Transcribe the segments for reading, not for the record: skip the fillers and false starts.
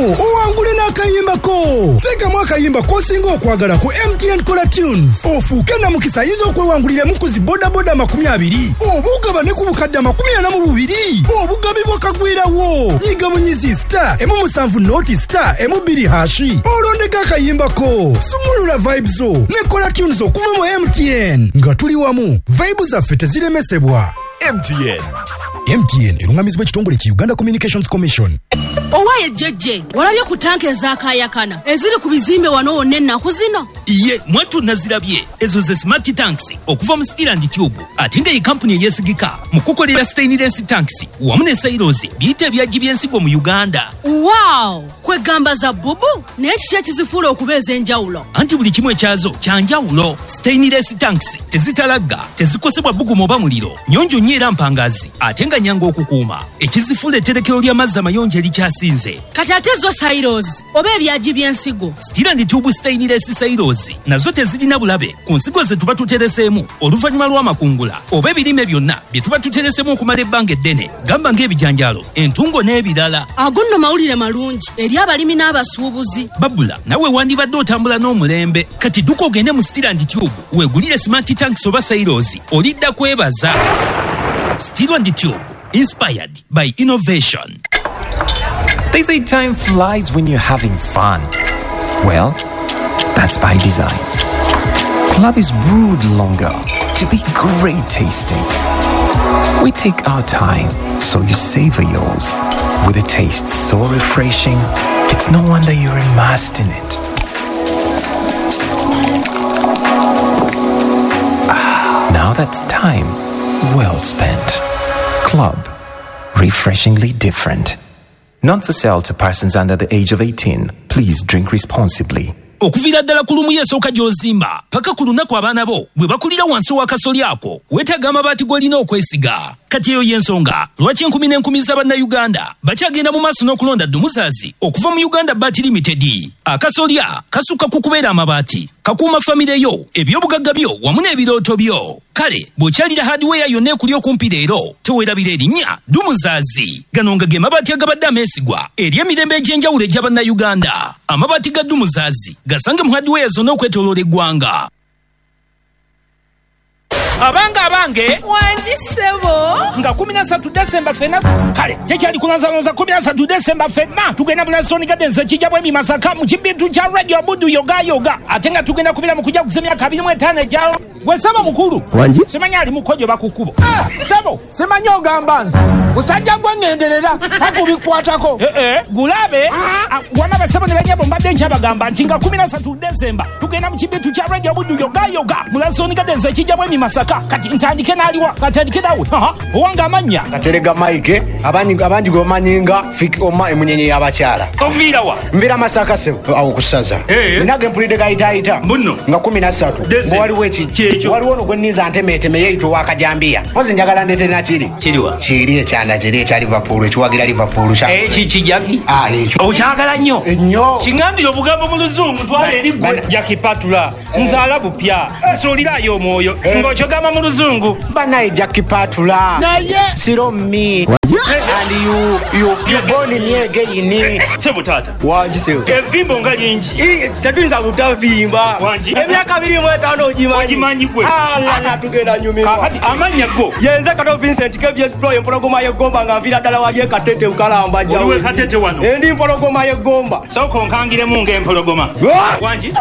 Owangule n'akayimba ko. Teekamu akayimba k'osinga okwagala ku MTN Kola Tunes, ofuuke namukisa ayinza okwewanguliramu ku zi bodaboda 20 oba ogabane ku bukadde 42 obugabi bwakagwirawo. Nyiga bunyizi *170 *12# olondeko akayimba ko. Sumulula vibes zo ne Kola Tunes okuva mu MTN. Nga tuli wamu, vibe zaffe teziremesebwa. MTN. MTN erungamizibwa ekitongole ki Uganda Communications Commission. Owaye jjejje, walabye ku tanka ezakayakana eziri ku bizimbe wano wonna ennaku zino? Ye mwattu nazirabye. Ezo ze smart tanks okuva mu Steel and Tube, ate nga ye kampuni eyeesigika mu kukolera stainless tanks wamu ne silos biyite ebyagi by'ensigo mu Uganda. Wow, kwegamba za bubu, naye kiki ekizifuula okuba ez'enjawulo? Anti buli kimu ekyazo kya njawulo. Stainless tanks tezitalagga, tezikosebwa bbugumu oba muliro, nnyonjo nnyo era mpangazi, ate nga nnyangu okukuuma. Ekizifuula etterekero ly'amazzi amayonjo erikyasinze. Kati ate zo silos oba ebyagi by'ensigo? Steel and Tube stainless silos nazo tezirina bulabe ku nsigo ze tuba tutereseemu oluvannyuma lw'amakungula oba ebirime byonna bye tuba tutereseemu okumala ebbanga eddene, gamba ng'ebijanjaalo, entungo n'ebirala. Ago nno mawulire malungi eri abalimi n'abasuubuzi. Babula, nawe wandibadde otambula n'omulembe. Kati dduka ogende mu Steel and Tube weegulire smart tanks oba silos, olidda kwebaza. Steel and Tube, inspired by innovation. They say time flies when you're having fun. Well, that's by design. Club is brewed longer to be great tasting. We take our time so you savor yours. With a taste so refreshing, it's no wonder you're immersed in it. Now that's time well spent. Club, refreshingly different. Not for sale to persons under the age of 18. Please drink responsibly. Okuviira ddala ku lumu esooka gy'ozimba paka ku lunaku abaana bo bwe bakulira wansi w'akasoli ako, weetaaga amabaati g'olina okwesiga. Kati eyo y'ensonga lwaki enkumi n'enkumi z'Abannayuganda bakyagenda mu maaso n'okulonda Dumuzazi okuva mu Uganda Baati Limited. Akasolya kasukka ku kubeera amabaati, kakuuma famire yo, ebyobugagga byo wamu n'ebirooto byo. Kale bw'okyalira hardware yonna ekuli okumpi leero, teweerabira erinnya Dumuzazi. Gano nga ge mabaati agabadde ameesigwa eri emirembe egy'enjawulo egy'Abannayuganda. Amabaati ga Dumuzazi gasange mu hardware zonna okwetooloola eggwanga. Abange abange, Wangi ssebo. Nga 13 Desemba ffenna, kale tekyali kulonzalonza. 13 Desemba ffenna tugenda mu Lansdowne Gardens ekijja bwemi Masaka mu kibintu kya Radio Buddu yoga yoga, ate nga tugenda kubira mu kujaguza emyaka 25 egya gwe ssebo mukulu. Wangi? Simanyi ali mukojo bakukubo ssebo. Simanyi ogamba nze musajja gwe ŋŋenderera takubikwatako. Gulabe wama basebo ne banyabo, mbadde nkyabagamba nti nga 13 Desemba tugenda mu kibintu kya Radio Buddu yoga yoga mu Lansdowne Gardens ekijja bwemi Masaka. Kati ntandike n'aliwa? Katandike nawe owange amannya. Katerega Mike, abangi gwe bamanyi nga Fik Oma, emunyenye y'abakyala. Oviira wa? Nviira Masaka ssebo, awo ku ssaza. Nina ge mpulidde gayitaayita Mbuno. Nga 13 Desemba. Waliwo Kyekyo. Waliwo ono gwe nninza ntemeeteme yeeyita ow'akajambiya. Mpozi njagala ndeete nakiri. Kiriwa? Kiri ekyanda kiri ekya Liverpool, ekiwagira Liverpool. Kiki Jackie? Ah, ekyo. Okyagala nnyo? Nnyo. Kiŋŋambire obugambo mu luzungu twala eri gwe. Jackie Patula, nzaala bupya, nsuulirayo omwoyo ng'okyogamba mu luzungu. Banaye Jackie Patula. Naye Siro me. And you born me again. Ssebo taata. Wangi ssebo. Evimbo nga lingi. Tetuyinza butavimba. Wangi. Emyaka 25 ogimanyi. Ogimanyi gwe. Alala tugenda nyumirwa. Kaakati amannya go. Yenze Kato Vincent KVS Pro, empologoma y'eggomba, nga nviira ddala wali e Katete Bukalamba. Oli w'e Katete wano? Ndi mpologoma y'eggomba. Sooka onkangiremu ng'empologoma. Wangi.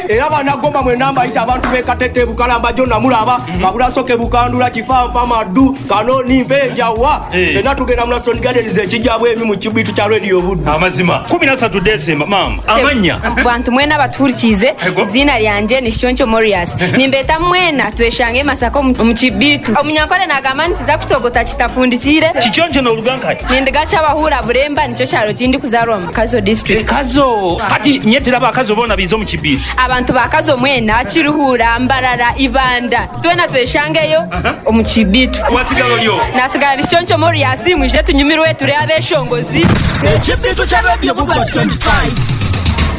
Era bannagomba mwenna mbayita abantu b'e Katete Bukalamba gyonna mulaba. Kabulasoke Bukandula, Kifampa, Maddu, Kanoni, Mpenjawa. Ffenna tugenda mu Lansdowne Gardens ekijja bwemi mu kibitu kya Radio Buddu. Amazima 13 Desemba. Maama, amannya. Bantu mwena batuhurikize, Ego. Izina ryanje ni Shoncho Morias. Nimbeta mwena tweshange Masaka omu kibitu. Omunyankole nagamba nti za kutogota kitafundikire. Kikyoncho n'olugankayi. Nindiga kyabahura Buremba, nikyo kyaro kindi kuzarwa mu Kazo district. Kazo. Kati nye teraba Akazo bona bizo mu kibitu. Abantu ba Kazo mwena Kiruhura, Mbarara, Ibanda. Twena tweshangeyo omu kibitu. Wasigala olyo. Nasigala ni Shoncho Morias, mwije tunyumirwe turi abeshongozi. Ekibitu kya Radio Buddu 25.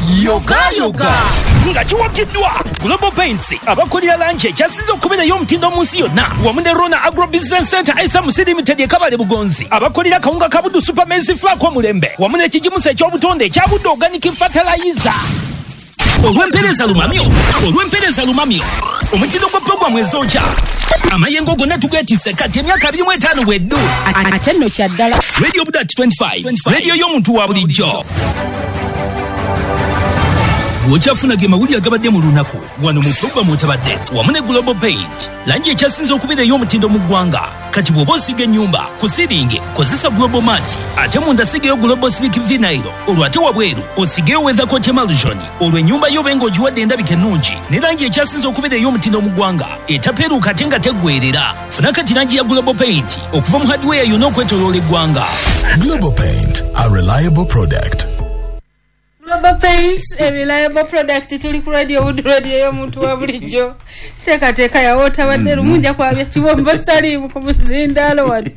Yogayoga nga kiwagiddwa Global Paints, abakolera langi ekyasinze okubeerayo omutindo mu nsi yonna, wamu ne Rona Agro Business Center SMC Limited e Kabale Bugonzi, abakolera kawunga ka Buddu Super Maize Flour omulembe, wamu n'ekigimusa eky'obutonde ekya Buddu Organic Fertilizer. Olw'empeereza lumamyo, olw'empeereza lumamyo, omutindo gwa puroguramu ezokya amayengo gonna tugeetisse kati emyaka 25 bweddu. Ate nno kya ddala. Radio Budat 25, radio y'omuntu wa bulijjo. Bw'okyafuna ge mawulire agabadde mu lunaku wano mu puroguramu otabadde wamu ne Global Paint, langi ekyasinze okubeera ey'omutindo mu ggwanga. Kati bw'oba osiiga ennyumba ku siringi kozesa Global Mat, ate munda sigayo Global Silk Vinyl, olwo ate wabweru osigeyo Weathercoat Emulsion, olwo ennyumba yo obe ng'ogiwadde endabika ennungi ne langi ekyasinze okubeera ey'omutindo mu ggwanga etapeeruuka ate nga teggweerera. Funa kati langi ya Global Paint okuva mu hardware yonna okwetooloola eggwanga. Global Paint, a reliable product. Global Paints, a reliable product. Tuli ku Radio Wood, radio y'omuntu wa bulijjo. Teekateeka yawo otabadde lumu nja kwabya kibombo salimu ku muzindaalo wano.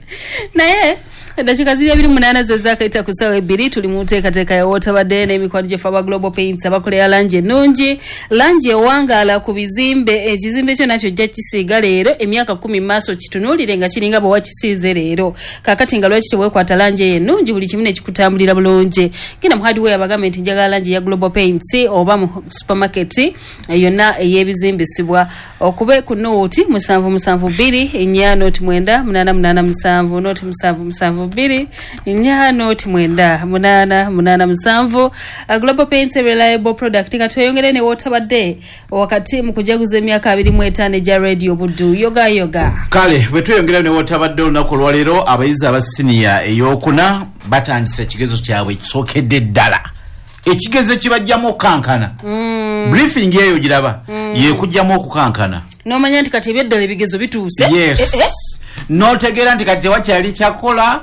Naye eddakiika ziri 28 ze zaakayita ku ssaawa 2, tuli mu nteekateeka yawo otabadde n'emikwano gyaffe aba Global Paints abakolera langi ennungi, langi ewangaala ku bizimbe. Ekizimbe kyo nakyo ojja kisiiga leero, emyaka 10 mu maaso kitunuulire nga kiringa bwe wakisiize leero. Kaakati nga lwaki teweekwata langi eyo ennungi, buli kimu ne kikutambulira bulungi. Genda mu hardware bagambe nti njagala langi ya Global Paints, oba mu supermarket yonna ey'ebizimbisibwa, okube ku nooti 772 4 noti 9 8 8 7 noti 7 7 2 4 noti 9 8 8 7. Global Paints, a reliable product. Katweyongere ne wotabadde wakati mu kujaguza emyaka 25 egya Radio Buddu. Yoga yoga. Kale bwe tweyongera ne wotabadde olunaku olwaleero, abayizi aba siniya ey'okuna batandise ekigezo kyabwe ekisookedde ddala, ekigezo kibajjamu okukankana. Briefing eyo giraba yekujjamu okukankana, n'omanya nti kati ebyeddala ebigezo bituuse. Yes. N'otegeera nti kati tewakyali kyakola.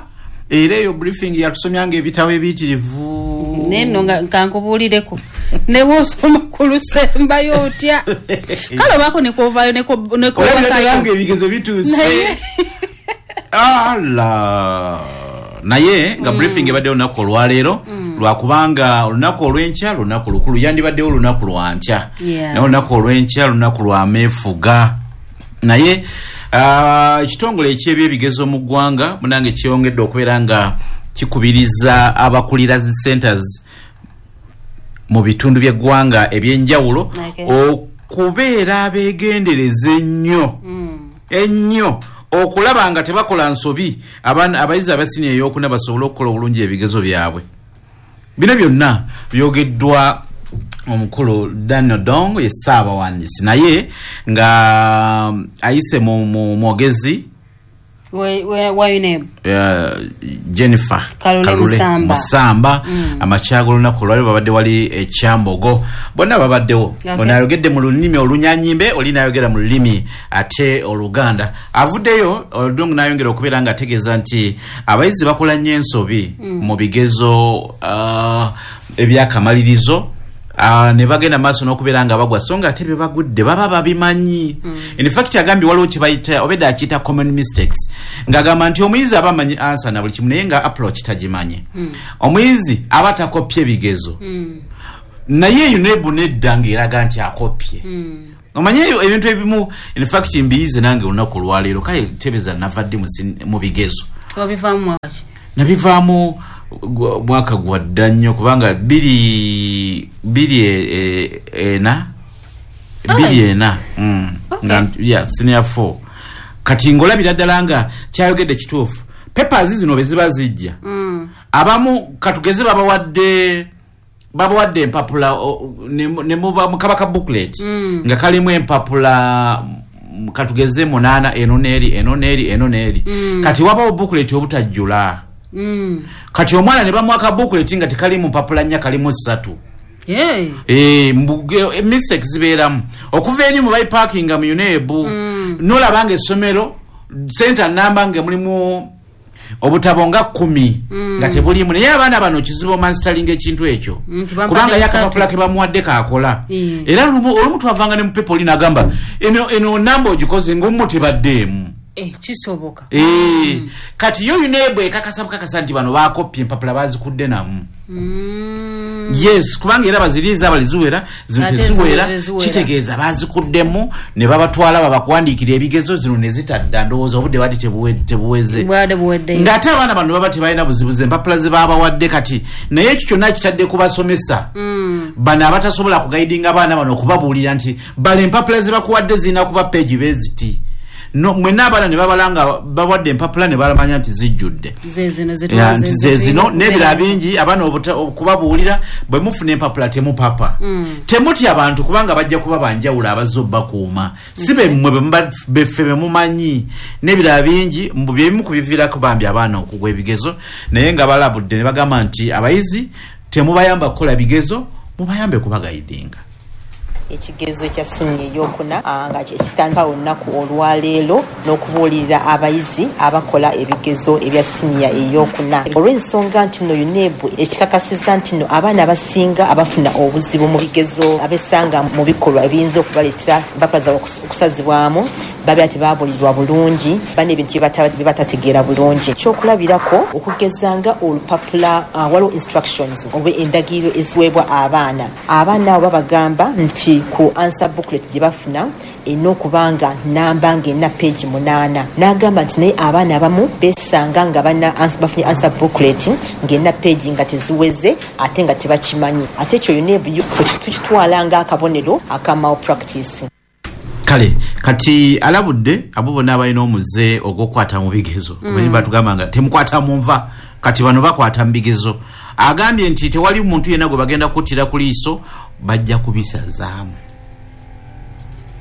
Era eyo briefing yatusomyanga ebitabo ebiyitirivu. Neno nga kankubuulireko ne bw'osoma ku lusembayo otya, kale obaako nekwovaayo nekwobakayo ebigezo bituuse. Ala naye nga briefing ebaddewo olunaku olwaleero, lwakubanga olunaku olw'enkya lunaku lukulu, yandibaddewo olunaku lwankya, naye olunaku olw'enkya lunaku lwa meefuga. Naye ekitongole eky'ebyebigezo mu ggwanga munange kyeyongedde okubeera nga kikubiriza abakulira zi centers mu bitundu by'eggwanga ebyenjawulo okubeera abeegendereza ennyo ennyo okulaba nga tebakola nsobi, abayizi abasiniya ey'okuna basobole okukola obulungi ebigezo byabwe. Bino byonna byogeddwa omukulu Daniel Dong, ye ssaabawandiisi, naye nga ayise mu mwogezi wa UNEB Jennifer Kalule Musamba. Amakya g'olunaku olwaleero babadde wali ekyambogo, bonna babaddewo. Ono ayogedde mu lulimi olunyanyimbe, oli n'ayogera mu lulimi ate oluganda. Avuddeyo Odong n'ayongera okubeera nga ategeeza nti abayizi bakola nnyo ensobi mu bigezo ebyakamalirizo, ne bagenda maaso n'okubeera nga bagwa, so nga ate bye bagudde baba babimanyi. In fact agambye waliwo kye bayita, obedda akiyita common mistakes, ng'agamba nti omuyizi aba amanyi ansa na buli kimu naye nga approach tagimanyi. Omuyizi aba takopye bigezo, naye UNEB nedda ng'eraga nti akopye. Omanye ebintu ebimu, in fact mbiyize nange olunaku olwaleero, kale tebeza navadde mu bigezo. Wabivaamu mwaka ki? Nabivaamu mwaka gwa dda nnyo, kubanga 2 4 2 4 yeah, senior 4. Kati ngolabira ddala nga kyayogedde kituufu. Papers zino bwe ziba zijja, abamu katugeze babawadde empapula ne muba mukabaka booklet nga kalimu empapula katugeze 8 eno n'eri eno n'eri eno n'eri. Kati wabawo booklet obutajjula. Kati omwana ne bamuwa booklet nga tekalimu mpapula 4 kalimu 3. Mistakes zibeeramu okuva eri mu bayipakinga mu UNEB, nolabanga essomero center namba nga mulimu obutabo nga 10 nga tebulimu, naye abaana bano kizibu omanstalinga ekintu ekyo kubanga yakapapula ke bamuwadde kaakola. Era olumu twavanga ne mu paper oli n'agamba eno namba ogikoze ng'omu tebaddeemu. Kisoboka. Kati yo UNEB ekakasa bukakasa nti bano bakopye empapula bazikudde namu. Yes, kubanga era baziriiza abaliziwera zino teziwera, kitegeeza bazikuddemu ne babatwala babakuwandiikira ebigezo zino ne zitadda. Ndowooza obudde bwadde tebuweze, ng'ate abaana bano baba tebalina buzibuzi, empapula ze babawadde. Kati naye ekyo kyonna kitadde kubasomesa bano abatasobola kugaidinga abaana bano okubabuulira nti bala empapula ze bakuwadde zirina kuba peegi beziti. No, mwenna abaana ne babalanga bawadde empapula ne balamanya nti zijjudde nti ze zino n'ebirala bingi. Abaana okubabuulira bwe mufuna empapula temupapa, temutya abantu kubanga bajja kuba banjawulo abazze obbakuuma, si bemmwe beffe bemumanyi n'ebirala bingi. Byebimu ku biviirako bambi abaana okugwa ebigezo, naye nga balabudde ne bagamba nti abayizi temubayamba kukola bigezo, mubayambe kubagayidinga. Ekigezo ekya siniya eyokuna nga kitandika olunaku olwaleero n'okubuulirira abayizi abakola ebigezo ebya siniya eyokuna, olw'ensonga nti nno UNEB ekikakasizza nti nno abaana abasinga abafuna obuzibu mu bigezo abesanga mu bikolwa ebiyinza okubaleetera empapula zaabwe okusazibwamu babeera tebabuulirwa bulungi, bana ebintu bye batategeera bulungi. Ekyokulabirako okugeza nga olupapula, waliwo instructions oba endagiriro eziweebwa abaana. Abaana abo babagamba nti ku answer booklet gye bafuna erina okuba nga namba ng'erina peegi 8, n'agamba nti naye abaana abamu beesanga nga bafunye answer booklet ng'erina peegi nga teziweze ate nga tebakimanyi. Ate ekyo UNEB tukitwala ng'akabonero aka malpractice. Kale kati alabudde abo bonna abalina omuze ogw'okukwata mu bigezo. Batugamba nga temukwata mu nva, kati bano bakwata mu bigezo. Agambye nti tewali muntu yenna gwe bagenda kuttira ku liiso, bajja kubisazaamu.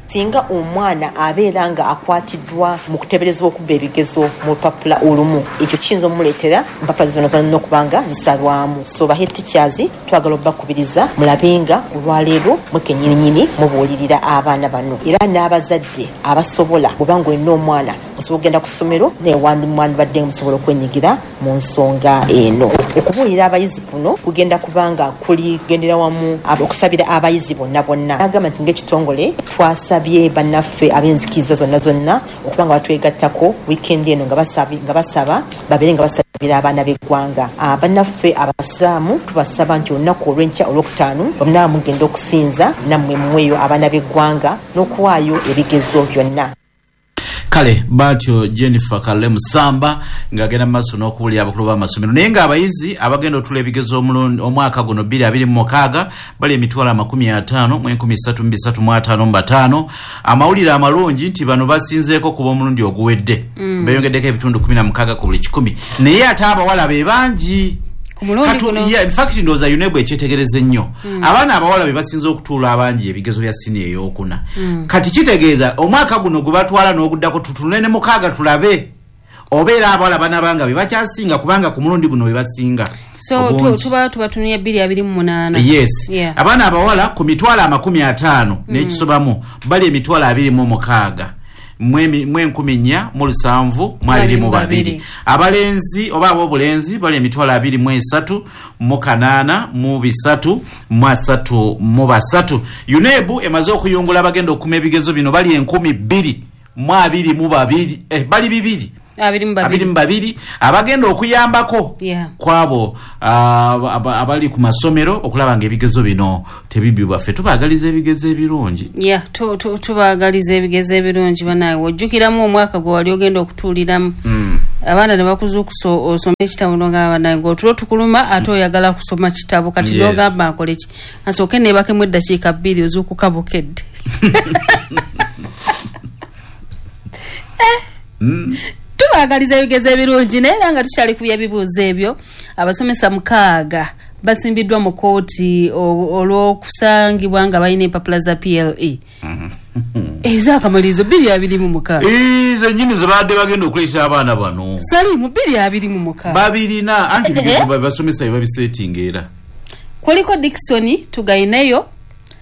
Singa omwana abeera nga akwatiddwa mu kuteeberezebwa okubba ebigezo mu lupapula olumu, ekyo kiyinza omuleetera empapula zonna zonna okuba nga zisalwamu. So ba head teachers twagala obbakubiriza mulabe nga olwaleero mwe kennyininyini mubuulirira abaana bano, era n'abazadde abasobola, bw'oba ng'olina omwana osobola okugenda ku ssomero naye wandibadde musobola okwenyigira mu nsonga eno. Okubuulira abayizi kuno kugenda kubanga kuligendera wamu okusabira abayizi bonna bonna. Agamba nti ng'ekitongole twasabye bannaffe ab'enzikiriza zonna zonna okuba nga batwegattako wiikendi eno nga basaba babeere nga basabira abaana b'eggwanga. Bannaffe abasiraamu tubasaba nti olunaku olw'enkya olwokutaano bonna mugenda okusinza nammwe muweeyo abaana b'eggwanga n'okuwaayo ebigezo byonna. Kale batyo Jennifer Kale Musamba ng'agenda mu maaso n'okuwulira abakulu b'amasomero. Naye ng'abayizi abagenda otula ebigezo omwaka guno 2026 bali 553,355. Amawulire amalungi nti bano basinzeeko kuba omulundi oguwedde, beeyongeddeko ebitundu 16 ku buli 100, naye ate abawala be bangi. In fact ndowooza UNEB ekyetegereza ennyo, abaana abawala be basinze okutuula abangi ebigezo bya siniya eyokuna. Kati kitegeeza omwaka guno gwe batwala n'oguddako tutunule ne mukaaga tulabe obeera abawala banabanga be bakyasinga, kubanga ku mulundi guno be basinga. So tuba tubatunulira 2028. Yes. Abaana abawala ku 50,000 n'ekisobamu bali 26,000 4,472. Abalenzi oba ab'obulenzi bali 23,803,333. UNEB emaze okuyungula abagenda okukuma ebigezo bino bali 2,022, bali bibiri 22 abagenda okuyambako kwabo abali ku masomero okulaba nga ebigezo bino tebibibwa. Ffe tubaagaliza ebigezo ebirungi. Tubaagaliza ebigezo ebirungi. Banaye ojjukiramu omwaka gwe wali ogenda okutuuliramu, abaana ne bakuzuukusa osome ekitabo nogamba naye ng'otulo tukuluma ate oyagala kusoma kitabo, kati n'ogamba nkole ki, nsooke neebakemu eddakiika 2 ozuukuka bukedde. Tubaagaliza ebigezo ebirungi. Naye era nga tukyali ku by'ebibuuzo ebyo, abasomesa 6 basimbiddwa mu kkooti olw'okusangibwa nga balina empapula za PLE ez'akamalirizo 2026. Zennyini ze baadde bagenda okuleetera abaana bano Salimu 2026 babirina, anti ebigezo basomesa bye babiseetinga. Era kuliko Dickson Tugaineyo,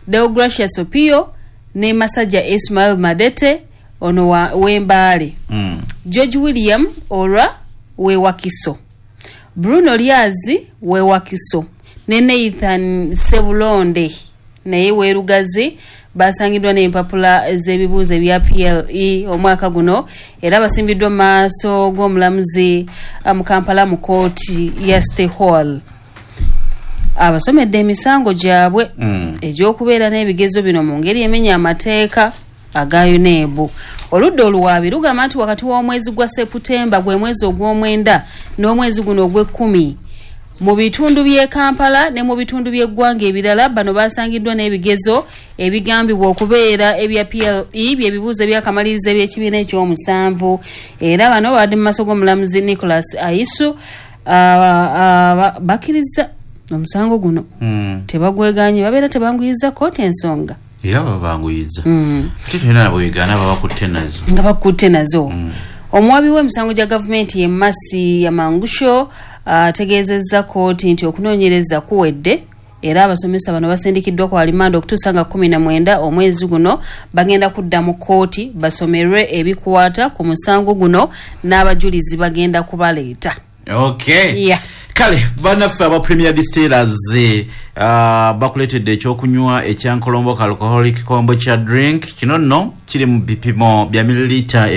Deogracius Opio ne Masajja Ismail Madete ono w'Embaale, George William Olwa w'Ewakiso, Bruno Lyazi w'Ewakiso ne Nathan Sebulonde naye w'Erugazi basangiddwa n'empapula z'ebibuuzo ebya PLE omwaka guno, era basimbiddwa mu maaso g'omulamuzi mu Kampala mu kkooti ya State Hall. Abasomedde emisango gyabwe egy'okubeera n'ebigezo bino mu ngeri emenya amateeka aga UNEB. Oludda oluwaabi lugamba nti wakati w'omwezi gwa Seputemba, gwe mwezi ogw'omwenda, n'omwezi guno ogw'ekkumi, mu bitundu by'e Kampala ne mu bitundu by'eggwanga ebirala, bano basangiddwa n'ebigezo ebigambibwa okubeera ebya PLE, byebibuuzo ebyakamaliriza eby'ekibiina ekyomusanvu. Era bano babadde mu maaso g'omulamuzi Nicholas Aisu. Bakkiriza omusango guno, tebagweganye, babeera tebanguyiza kooti ensonga. Era babanguyiza, ate tolina nabo wegaana, babakutte nazo. Nga bakutte nazo. Omuwabi w'emisango gya gavumenti ye Masi Yamangusho ategeezezza kooti nti okunoonyereza kuwedde, era abasomesa bano basindikiddwa ku alimanda okutuusa nga 19 omwezi guno. Bagenda kudda mu kooti basomerwe ebikwata ku musango guno, n'abajulizi bagenda kubaleeta. Okay. Kale bannaffe aba Premier Distillers bakuleetedde ekyokunywa ekyankolombo alcoholic kombucha drink. Kino nno kiri mu bipimo bya mililita